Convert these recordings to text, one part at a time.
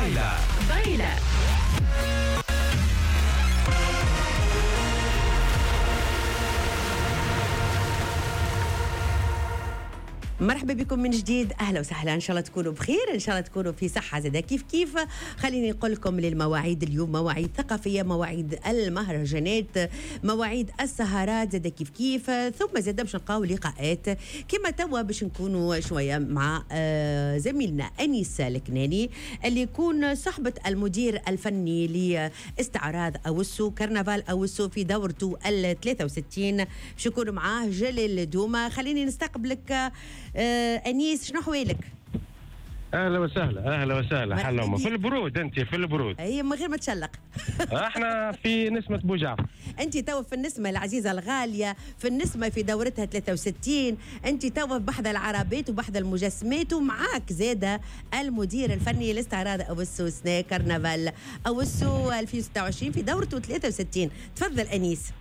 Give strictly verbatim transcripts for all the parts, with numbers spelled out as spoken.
بايلا بايلا. مرحبا بكم من جديد، اهلا وسهلا، ان شاء الله تكونوا بخير، ان شاء الله تكونوا في صحة زاده كيف كيف. خليني نقول لكم للمواعيد اليوم، مواعيد ثقافية، مواعيد المهرجانات، مواعيد السهرات زاده كيف كيف، ثم زاده باش نلقاو لقاءات كما توا باش نكونوا شوية مع زميلنا انيس الكناني اللي يكون صحبه المدير الفني لاستعراض اوسو كرنفال اوسو في دورته ال ثلاثة وستين، باش يكون معاه جلال دوما. خليني نستقبلك آه، أنيس، شنو حوالك؟ اهلا وسهلا، اهلا وسهلا. حلومه في البرود، انت في البرود. اي من غير ما تشلق. احنا في نسمه بوجعفر. انت توا في النسمه العزيزة الغالية، في النسمه في دورتها ثلاثة وستين، انت توا بحذا العربات وبحذا المجسمات، ومعاك زاده المدير الفني لاستعراض اوسو سنة كرنفال اوسو ألفين وستة وعشرين في دورته ثلاثة وستين. تفضل انيس.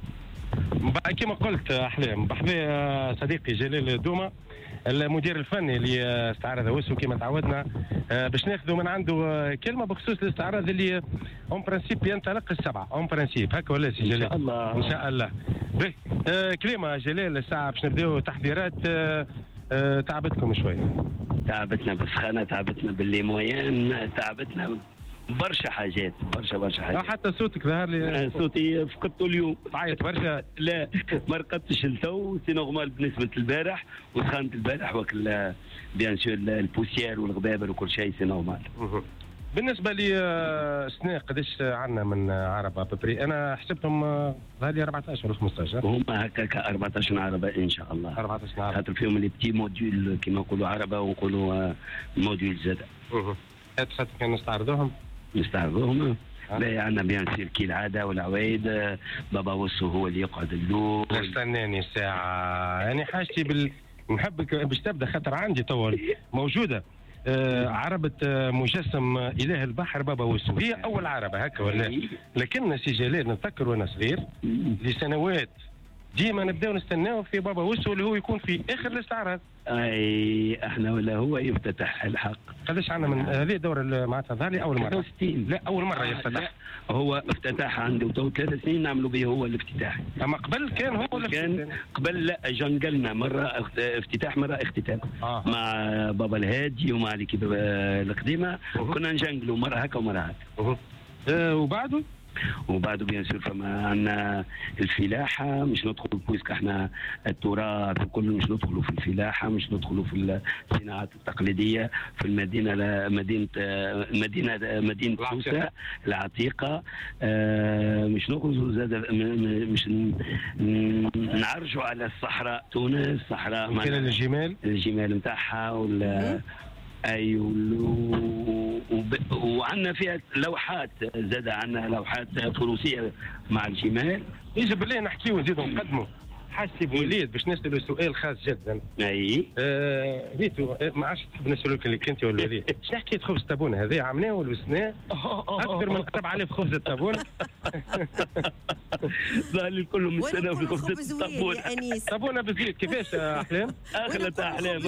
كما قلت احلام، بحذا صديقي جلال دوما المدير الفني لاستعراض اوسو كما تعودنا باش ناخذوا من عنده كلمة بخصوص الاستعراض اللي en principe ينطلق السبعة en principe هكا ولا سي جلال؟ ان شاء الله ان شاء الله. به كلمة جلال، الساعة باش نبداو تحضيرات. تعبتكم شوية؟ تعبتنا بالسخانه، تعبتنا بال les moyens، تعبتنا برشا حاجات، برشا برشا حاجات. حتى صوتك ظهر لي، صوتي فقدته اليوم. تعيط برشا؟ لا ما رقدتش لتو، c'est normal بالنسبة للبارح وسخانه البارح وكل bien sûr ال poussière والغبابر وكل شيء c'est normal. بالنسبة لي سنة قداش عندنا من عربه à peu près؟ انا حسبتهم ظهر لي أربعطاش ولا خمسطاش. هما هكاك أربعطاش عربه ان شاء الله. أربعطاش عربه خاطر فيهم les petits modules كيما نقولوا عربه ونقولوا module زاد. اها كان نستعرضوهم؟ نستعرضوهم. لا عندنا bien sûr كي العادة والعوايد، بابا وسو هو اللي يقعد الاول. استناني ساعة، يعني حاجتي بال نحبك باش تبدا خاطر عندي تو موجودة آه عربه مجسم اله البحر بابا وسو، هي اول عربه هكا ولا؟ لكن سي جلال نتذكر وانا صغير لسنوات ديما نبداو نستناو في بابا وسو اللي هو يكون في اخر الاستعراض. اي احنا ولا هو يفتتح الحق. قداش عندنا من هذه الدورة معناتها ظهر لي اول مرة ثلاثة وستين. لا اول مرة يفتتح. هو افتتاح عنده تو ثلاث سنين نعملوا به هو الافتتاح. اما قبل كان هو كان قبل لا جنقلنا مرة افتتاح مرة اختتام. آه. مع بابا الهادي ومع l'équipe القديمة كنا نجنقلوا مرة هكا ومرة هكا. أه وبعده؟ وبعده bien sûr فما عندنا الفلاحة، مش ندخلوا puisque احنا التراث وكل، مش ندخلوا في الفلاحة، مش ندخلوا في الصناعات التقليدية في المدينة، مدينة مدينة مدينة سوسة العتيقة، اه مش نخرجوا زاد، مش نعرجوا على الصحراء تونس، صحراء الجمال الجمال نتاعها ولا اي وب... وعندنا فيها لوحات زاد، عندنا لوحات فروسيه مع الجمال. يجب بالله نحكيو ونزيدو نقدموا. حاجتي بوليد باش نسالو سؤال خاص جدا. اي آه ريتو ما عادش تحب نسالوك اللي كنت ولا وليد، شنو حكاية خبز الطابونه هذه عملناه ولا سنة اكثر من سبعة آلاف خبز الطابونه. ظهر لي الكل مستناو في خبز الطابونه. طابونه بالزيت كيفاش احلام؟ اغلى احلام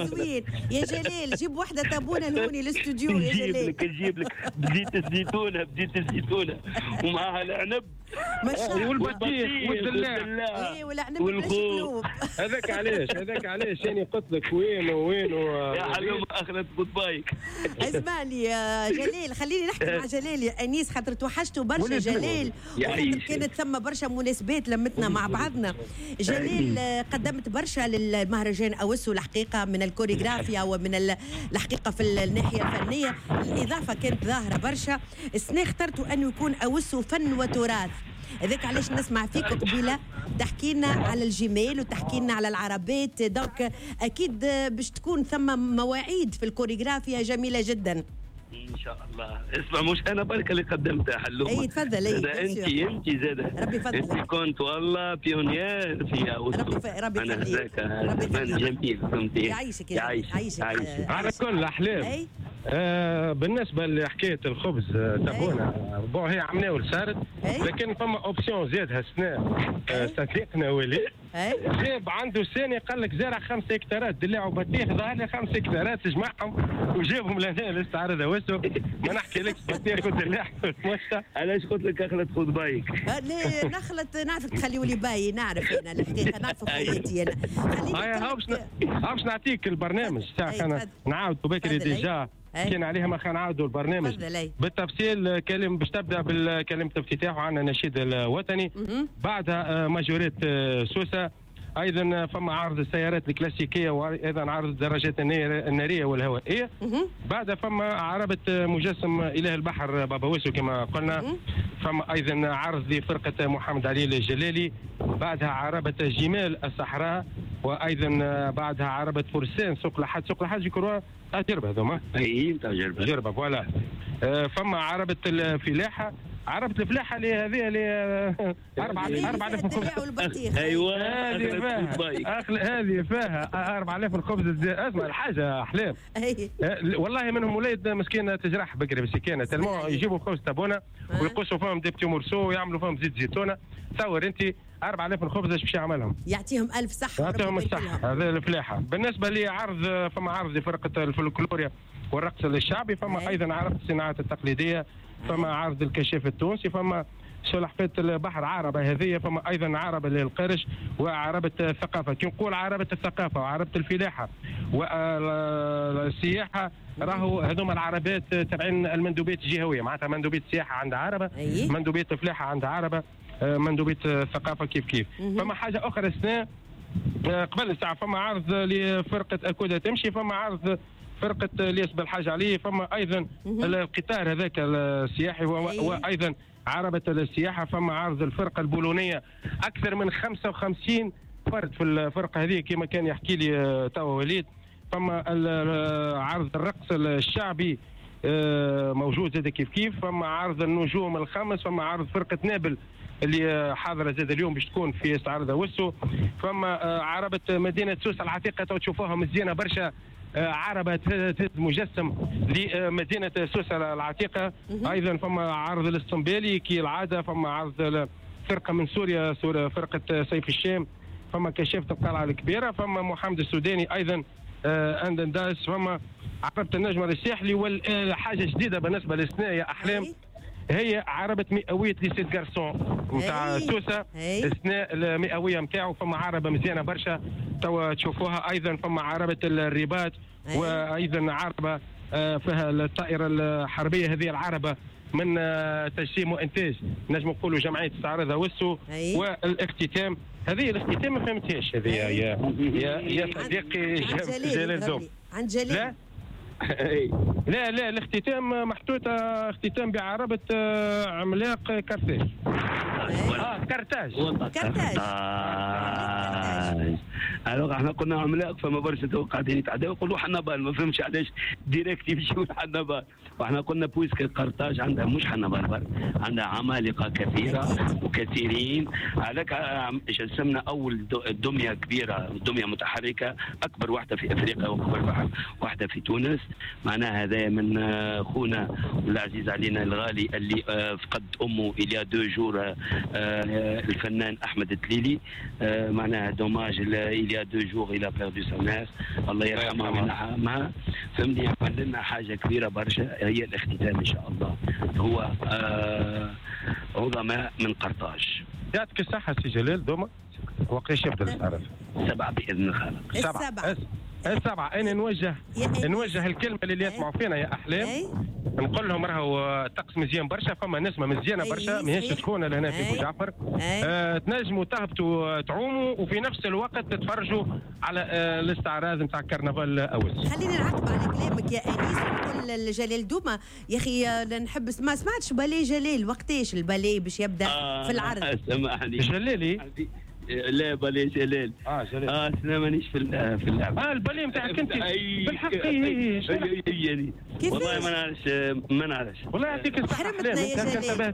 يا جلال، جيب وحده طابونه لهوني للاستوديو يا جلال. نجيب لك نجيب لك بزيت الزيتونه، بزيت الزيتونه ومعها العنب ما شاء الله والبطيخ والدلاع. اي والعنب والخوخ. هذاك علاش هذاك علاش يعني قلت لك وين وين يا حلومه اخذت goodbye. اسمع لي يا جلال، خليني نحكي مع جلال يا انيس خاطر توحشته برشا جلال، وخاطر كانت ثم برشا مناسبات لمتنا مع بعضنا. جلال قدمت برشا للمهرجان اوسو الحقيقة من الكوريغرافيا ومن الحقيقة في الناحية الفنية، الاضافة كانت ظاهره برشا. السنة اخترتوا انه يكون اوسو فن وتراث، هذاك علاش نسمع فيك قبيلة تحكي لنا على الجمال وتحكي لنا على العربات، donc اكيد باش تكون ثم مواعيد في الكوريغرافيا جميلة جدا ان شاء الله. اسمع مش انا برك اللي قدمتها حلومه. اي تفضل. اي انت انت زاد ربي يفضلك، انت كنت والله pionnière في اوسو. ربي ربي يخليك، ربي جميل فهمتي. يعيشك يعيشك على كل احلام. آه بالنسبة لحكاية الخبز تابونا bon هي عملناه صارت، لكن فما option زادها السنة صديقنا وليد جاب عنده سنة قال لك زرع خمسة هكتارات دلاع وبطيخ، ظهر لي خمسة هكتارات جمعهم وجابهم لهنا للاستعراض اوسو. ما نحكي لكش بطيخ ودلاع. علاش قلت لك اخلط خذ بايك؟ لا نخلط، نعرفك تخليوا لي باي، نعرف انا الحقيقة، نعرف خواتي انا. خليني باش نعطيك البرنامج تاعك، انا نعاودوا بكري déjà كان عليها ما خلينا نعاودوا البرنامج بالتفصيل. كلم باش تبدا بالكلمة الافتتاح وعندنا النشيد الوطني، بعدها majorette سوسة، ايضا فما عرض السيارات الكلاسيكية وايضا عرض الدراجات النارية والهوائيه، بعدها فما عربه مجسم اله البحر بابا وسو كما قلنا، فما ايضا عرض لفرقة محمد علي الجلالي، بعدها عربه جمال الصحراء، وايضا بعدها عربه فرسان سوق لحد، سوق لحد يكونوا تجربه هذوما، اي تجربه تجربه voilà. فما عربه الفلاحة، عربة الفلاحة اللي هذه اللي أربعة آلاف الخبز. ايوه هذه فيها هذه فيها أربعة آلاف الخبز. اسمع الحاجة أحلام، والله منهم ولاد مسكينة تجرح بكري مسكينة، تلمو يجيبوا خبز تابونة ويقصوا فيهم des petits morceaux ويعملوا فيهم زيت زيتونة. تصور أنت أربعة آلاف الخبز ايش باش يعملهم؟ يعطيهم ألف صحة. يعطيهم الصحة. هذا الفلاحة. بالنسبة لعرض، فما عرض لفرقة الفولكلوريا والرقص الشعبي، فما أيضا عرض الصناعات التقليدية، فما عرض الكشاف التونسي، فما سلحفاة البحر عربة هذه، فما أيضا عربة للقرش وعربة الثقافة. كي نقول عربة الثقافة وعربة الفلاحة والسياحة راهو هذوما العربات تبعين المندوبيات الجهوية، معناتها مندوبية السياحة عند عربة، مندوبية الفلاحة عند عربة، مندوبية الثقافة كيف كيف. فما حاجة أخرى السنة قبل الساعة، فما عرض لفرقة أكودة تمشي، فما عرض فرقة الياس بالحاج علي، فما أيضا القطار هذاك السياحي، وأيضا عربة السياحة، فما عرض الفرقة البولونية، أكثر من خمسة وخمسين فرد في الفرقة هذه كما كان يحكي لي توا وليد. فما عرض الرقص الشعبي موجود زاد كيف كيف، فما عرض النجوم الخمس، فما عرض فرقة نابل اللي حاضره زاد اليوم باش تكون في استعراض وسو، فما عربة مدينة سوسة العتيقة تشوفوها مزيانة برشا، عربة تهز مجسم لمدينة سوسة العتيقة. أيضا فما عرض الاسطنبالي كالعادة، فما عرض فرقة من سوريا، فرقة سيف الشام، فما كشافة القلعة الكبيرة، فما محمد السوداني أيضا أندنداس، فما عربة النجمة الساحلي. والحاجة جديدة بالنسبة للسنة يا أحلام هي عربة مئوية les sept garçons نتاع سوسة، السنة المئوية نتاعو، فما عربة مزيانة برشا توا تشوفوها. أيضا فما عربة الرباط، وأيضا عربة فيها الطائرة الحربية، هذه العربة من تجسيم وإنتاج نجم نقولوا جمعية استعراض وسو. والاختتام، هذه الاختتام ما فهمتهاش هذه يا يا يا صديقي جلال دوم. عند جلال لا لا لا الاختتام محطوطة اختتام بعربة عملاق كارتاج. اه كارتاج كارتاج. alors احنا قلنا عملاق، فما برشا تو قاعدين يتعداو يقولوا حنبال، ما فهمش علاش direct يمشيو لحنبال، واحنا قلنا puisque قرطاج عندها مش حنبال برك، عندها عمالقة كثيرة وكثيرين. هذاك جسمنا اول دمية كبيرة، دمية متحركة، اكبر واحدة في افريقيا واكبر واحدة في تونس. معناها هذا من خونا والعزيز علينا الغالي اللي فقد امه il y a deux jours، الفنان احمد التليلي. معناها dommage il y a deux jours il a perdu sa mère، الله يرحمها وينعمها. فهمني، عمل لنا حاجة كبيرة برشا هي الاختتام ان شاء الله، هو آه عظماء من قرطاج. يعطيك الصحة سي جلال دوما. وقتاش يبدا الاستعراض؟ سبعة باذن الخالق. السبعة السبعة. انا نوجه نوجه الكلمة للي يسمعوا فينا يا احلام، نقول لهم راهو الطقس مزيان برشا، فما نسمه مزيانه برشا ماهيش سخونة لهنا في بوجعفر. آه تنجموا تهبطوا تعوموا وفي نفس الوقت تتفرجوا على آه الاستعراض نتاع كرنفال اوس. خليني نعقب على كلامك يا انيس ونقول لجلال دوما، يا اخي نحب ما سمعتش بالي جلال، وقتاش البالي باش يبدا آه في العرض؟ سامحني جلالي، لا بالي جلال. اه جلال اه انا مانيش في في اللعبة. اه البالي نتاعك انت بالحق. اي والله ما نعرفش ما نعرفش. والله يعطيك الصحة. حرمتنا يا جلال،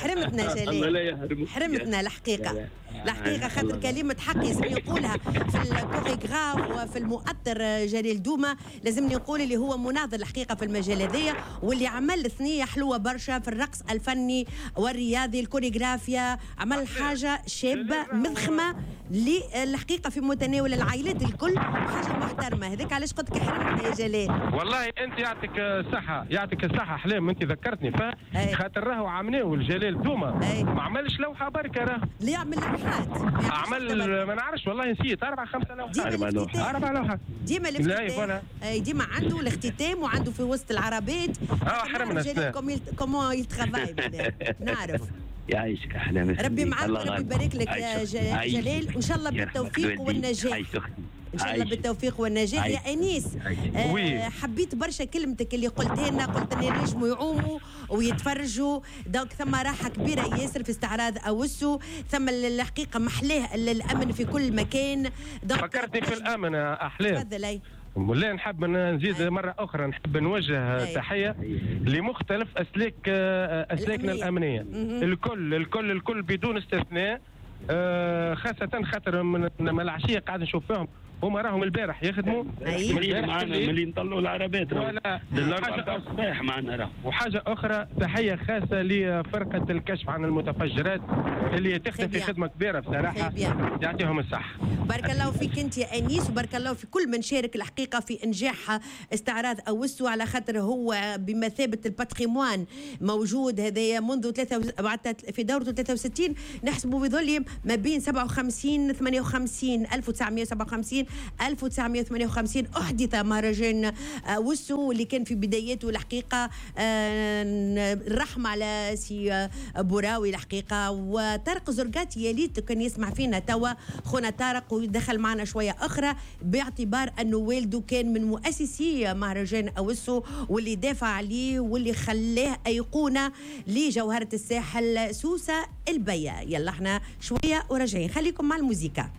حرمتنا جلال، حرمتنا الحقيقة الحقيقة خاطر كلمة حق لازم نقولها في الكوريغراف وفي المؤطر جلال دومة، لازمني نقول اللي هو مناضل الحقيقة في المجال هذايا، واللي عمل ثنية حلوة برشا في الرقص الفني والرياضي الكوريغرافيا، عمل حاجة شابة مضخمة للحقيقة في متناول العائلات الكل، حاجة محترمة. هذاك علاش قلت لك حرمتنا يا جلال. والله أنت يعطيك الصحة، يعطيك الصحة أحلام، أنت ذكرتني خاطر راهو عمناو الجلال دومة ما عملش لوحة بركة، راه اللي يعمل لوحات عمل ما نعرفش والله نسيت أربع خمسة لوحات، أربع لوحات، أربع لوحات ديما الافتتاح، ديما عنده الاختتام وعنده في وسط العربات. اه حرمنا comment il travaille نعرف. يعيشك احلام، ربي معاك وربي يبارك لك يا جلال، وان شاء الله بالتوفيق والنجاح. ان شاء الله بالتوفيق والنجاح يا انيس. آه حبيت برشا كلمتك اللي قلتها لنا، قلت لنا ينجموا يعوموا ويتفرجوا، donc ثم راحة كبيرة ياسر في استعراض اوسو، ثم الحقيقة محلاه الامن في كل مكان. فكرتني في الامن يا احلام. تفضل. ولا نحب نزيد مرة أخرى، نحب نوجه أي. تحية لمختلف أسلاك أسلاكنا الأمنية، الأمنية. الكل الكل الكل بدون استثناء، خاصة خاطر من العشية قاعد نشوف فيهم هما راهم البارح يخدموا معنا ملي نطلعوا العربات ولا الصباح معنا راهم. وحاجه اخرى تحية خاصة لفرقة الكشف عن المتفجرات اللي تخدم في خدمة كبيرة بصراحة، يعطيهم الصحة. بارك الله فيك انت يا انيس، وبارك الله في كل من شارك الحقيقة في انجاح استعراض اوسو، على خاطر هو بمثابة ال patrimoine موجود هذايا منذ ثلاثة في دورته ثلاثة وستين، نحسبوا بظل ما بين سبعة وخمسين ثمانية وخمسين ألف وتسعمية وسبعة وخمسين ألف وتسعمية وثمانية وخمسين أحدث مهرجان وسو اللي كان في بداياته الحقيقة الرحمة على سي بوراوي الحقيقة وطارق زرقاتي، يا ليت كان يسمع فينا توا خونا طارق ويدخل معنا شوية أخرى، باعتبار أنه والده كان من مؤسسي مهرجان أوسو واللي دافع عليه واللي خلاه أيقونة لجوهرة الساحل سوسة البيا. يلا احنا شوية وراجعين، خليكم مع الموسيقى.